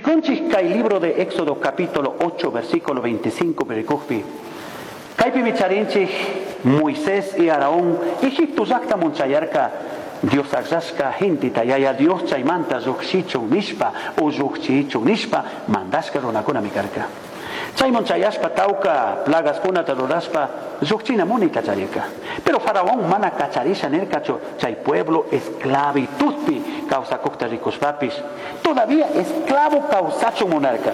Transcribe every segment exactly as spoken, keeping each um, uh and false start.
Rikunchik kay libro de Éxodo capítulo ocho versículo veinticinco perikukpi. Kaypimi charinchik Moisés y Aarón Egipto llaqtaman chayarka Dios akllasqa genteta yaya Dios chaymanta lluqshichun nishpa o lluqchichun nishpa mandashka runakunami karka. Chayman chayashpa tawka plagaskunata rurashpa lluqchina munita charirka. Pero Faraón mana kacharisha nirkachu chay pueblo esclavitudpi kawsakuqta rikushpapis todavía esclavo kawsachun munarka.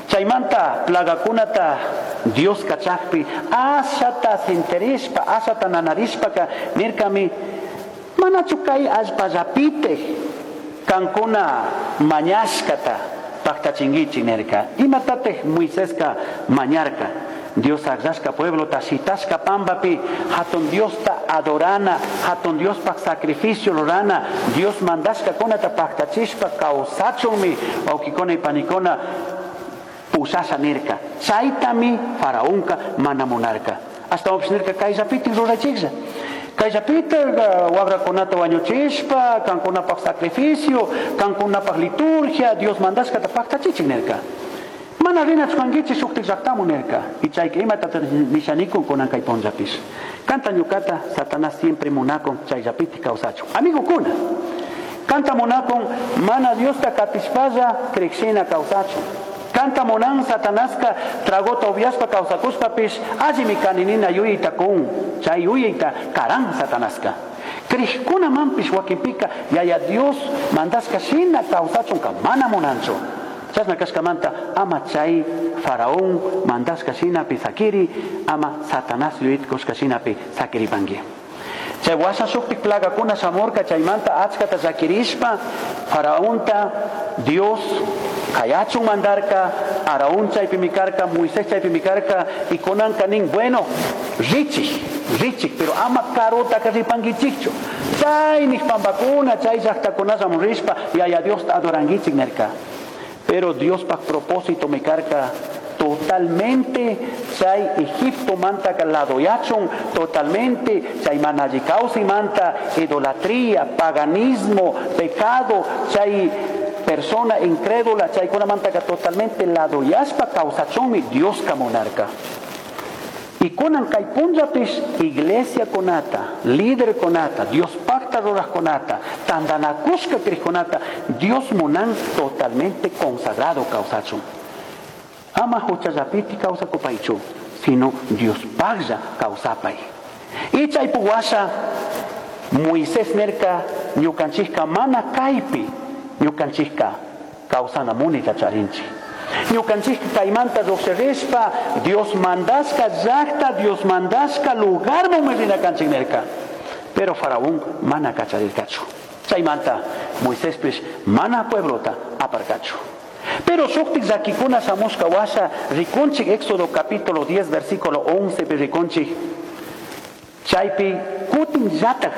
Chaymanta plagakunata Dios kachakpi ashata sinterishpa ashata nanarishpaka nirkami manachu kay allpallapitej kankuna mañashkata paqtachinkichik nirka. Imatatej Moiseska mañarka Dios akllasqa pueblota shitashka pampapi hatun Diosta adorana, hatun Diospaq sacrificio rurana, Dios mandashkakunata paqtachishpa kawsachunmi wawqikuna y panikuna pushasha nirka. Chaytami faraonka mana munarka. Ashtawanpish nirka kayllapitik rurachiklla. Kayllapitik wakrakunata wañuchishpa, kankunapaq sacrificio, kankunapaq liturgia, Dios mandashkata paqtachichik nirka. Mana rinachu kankichik shuktik llaqtamun nirka. Y chayka imatata nishanikun kunan kay punllapish. Kanta ñukata Satanás siempre munakun chayllapitik kawsachun. Amigokuna, kanta munakun mana Diosta katishpalla krikshina kawsachun. Kanta munan Satanaska tragota upiashpa kawsakushpapish allimi kaninina yuyayta kun, chay yuyayta karan Satanaska. Krikkunamanpish wakinpika yaya Dios mandashka shina kawsachunka mana munanchu. Chashna kashkamanta ama chay faraón mandashka shinapi sakiri, ama Satanás yuyayta kushka shinapi sakiripanki. Chay washa shuktik plagakuna shamurka chaymanta achkata llakirishpa faraonta Dios kayachun mandarka, Aarón chaypimi karka, Moisés chaypimi karka, y kunanka nin, bueno, richik, richik, pero ama karutaka ripankichikchu. Chay nishpampakuna, chay llaqtakunallaman rishpa, yaya Diosta adorankichik nirka. Pero Diospaq propósito mi karka totalmente chay Egipto manta ladoyachun, totalmente chay mana alli kawsay manta idolatría, paganismo, pecado, chay persona incrédula, chaykunamanta totalmente ladoyashpa kawsachunmi Dioska munarka. Y kunan kay punllapish iglesia kunata, líder kunata, Dios pacta rurajkunata, tandanakushka krikkunata, Dios munan totalmente consagrado kawsachun. Ama huchallapiti kawsakupaychu, sino Dios paglla kawsapay. Y chaypu washa Moisés nerka ñukanchikka mana kaypi ñukanchikka kawsana munita charinchik. Ñukanchikka kaymanta lluqshirishpa Dios mandashka llaqta, Dios mandashka lugarman rinakanchik nerka. Pero faraón mana kacharirkachu. Chaymanta Moiséspish mana pueblota aparkachu. Pero shuktik llakikuna shamushka washa rikunchik Éxodo capítulo diez versículo once pi rikunchik. Chaypi kutin llatak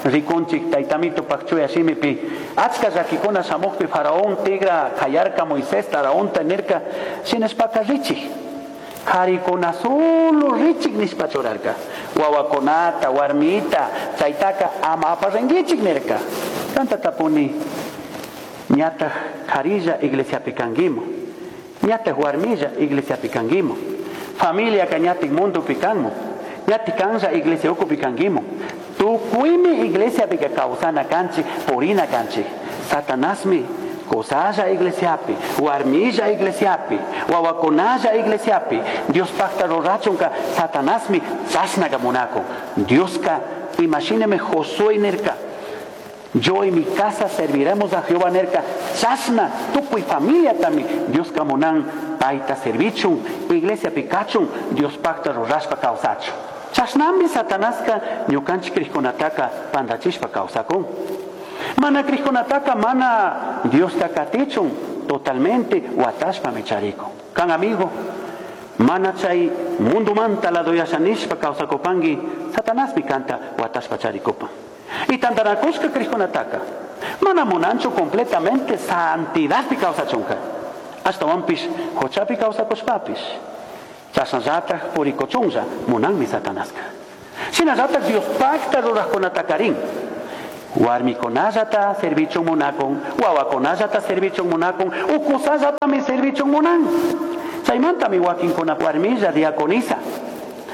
rikunchik taytamito pakchuya shimipi achka llakikuna shamukpi faraón tigra kayarka Moisés Aaraonta nirka shinashpaka richik. Karikuna solo richik nishpa churarka. Wawakunata, warmita, chaytaka ama aparinkichik nirka. Kanta tapuni ñataq karilla iglesiapi kankimu, ñataq warmilla iglesiapi kankimu, familia ka ñatik mundopi kanmu, ñatik kanlla iglesia ukupi kankimu. Tukuymi iglesiapika kawsana kanchik, purina kanchik. Satanasmi kusalla iglesiapi, warmilla iglesiapi, wawakunalla iglesiapi, Diospaqta rurachunka Satanasmi chashnaka munakun. Dioska imashinami Josué nirka, yo y mi casa serviremos a Jehová nerka, chashna tukuy familia tami Dioska munan payta servichun, iglesia pikachun, Dios pacta rurashpa kawsachun. Chashnami Satanaska ñukanchik krikkunataka pandachishpa kawsakun. Mana krikkunataka mana Diosta katichun totalmente watashpa micharikun. Kan amigo, mana chay mundo manta ladoyashanishpa kawsakupanki, Satanasmi kanta watashpa charikupan. Y tantanakushka krikkunataka mana munanchu completamente santidadpi kawsachunka. Ashtawanpish huchapi kawsakushpapish chashnallataq purikuchunlla munanmi Satanaska. Shinallatak Diospaqta rurajkunatakarin Warmikunallata servichun munakun, wawakunallata servichun munakun, ukusallatami servichun munan. Chaymantami wakinkuna warmilla diaconisa.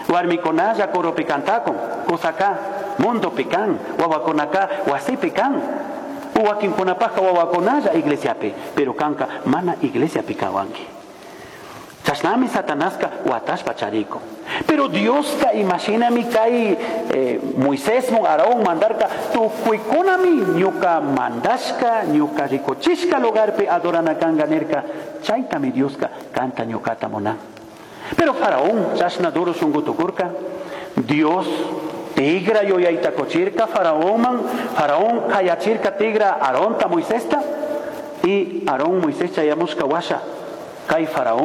Warmikunalla coropi cantakun, kusaka mundopi kan, wawakunaka wasipi kan. Wakinkunapajka wawakunalla iglesiapi, pero kanka mana iglesiapi kawanki. Chashnami Satanaska watashpa charikun. Pero Dioska imashinami kay eh, Moisés mun Aarón mandarka tukuykunami ñuka mandashka ñuka rikuchishka lugarpi adorana kanga nirka chaytami Dioska kanta ñukata munan. Pero Faraón chashna duro shunku tukurka Dios tigra yuyayta kuchirka Faraónman Faraón kayachirka tigra Aaronta Moisesta y Aarón Moisés chayamushka washa kay Faraón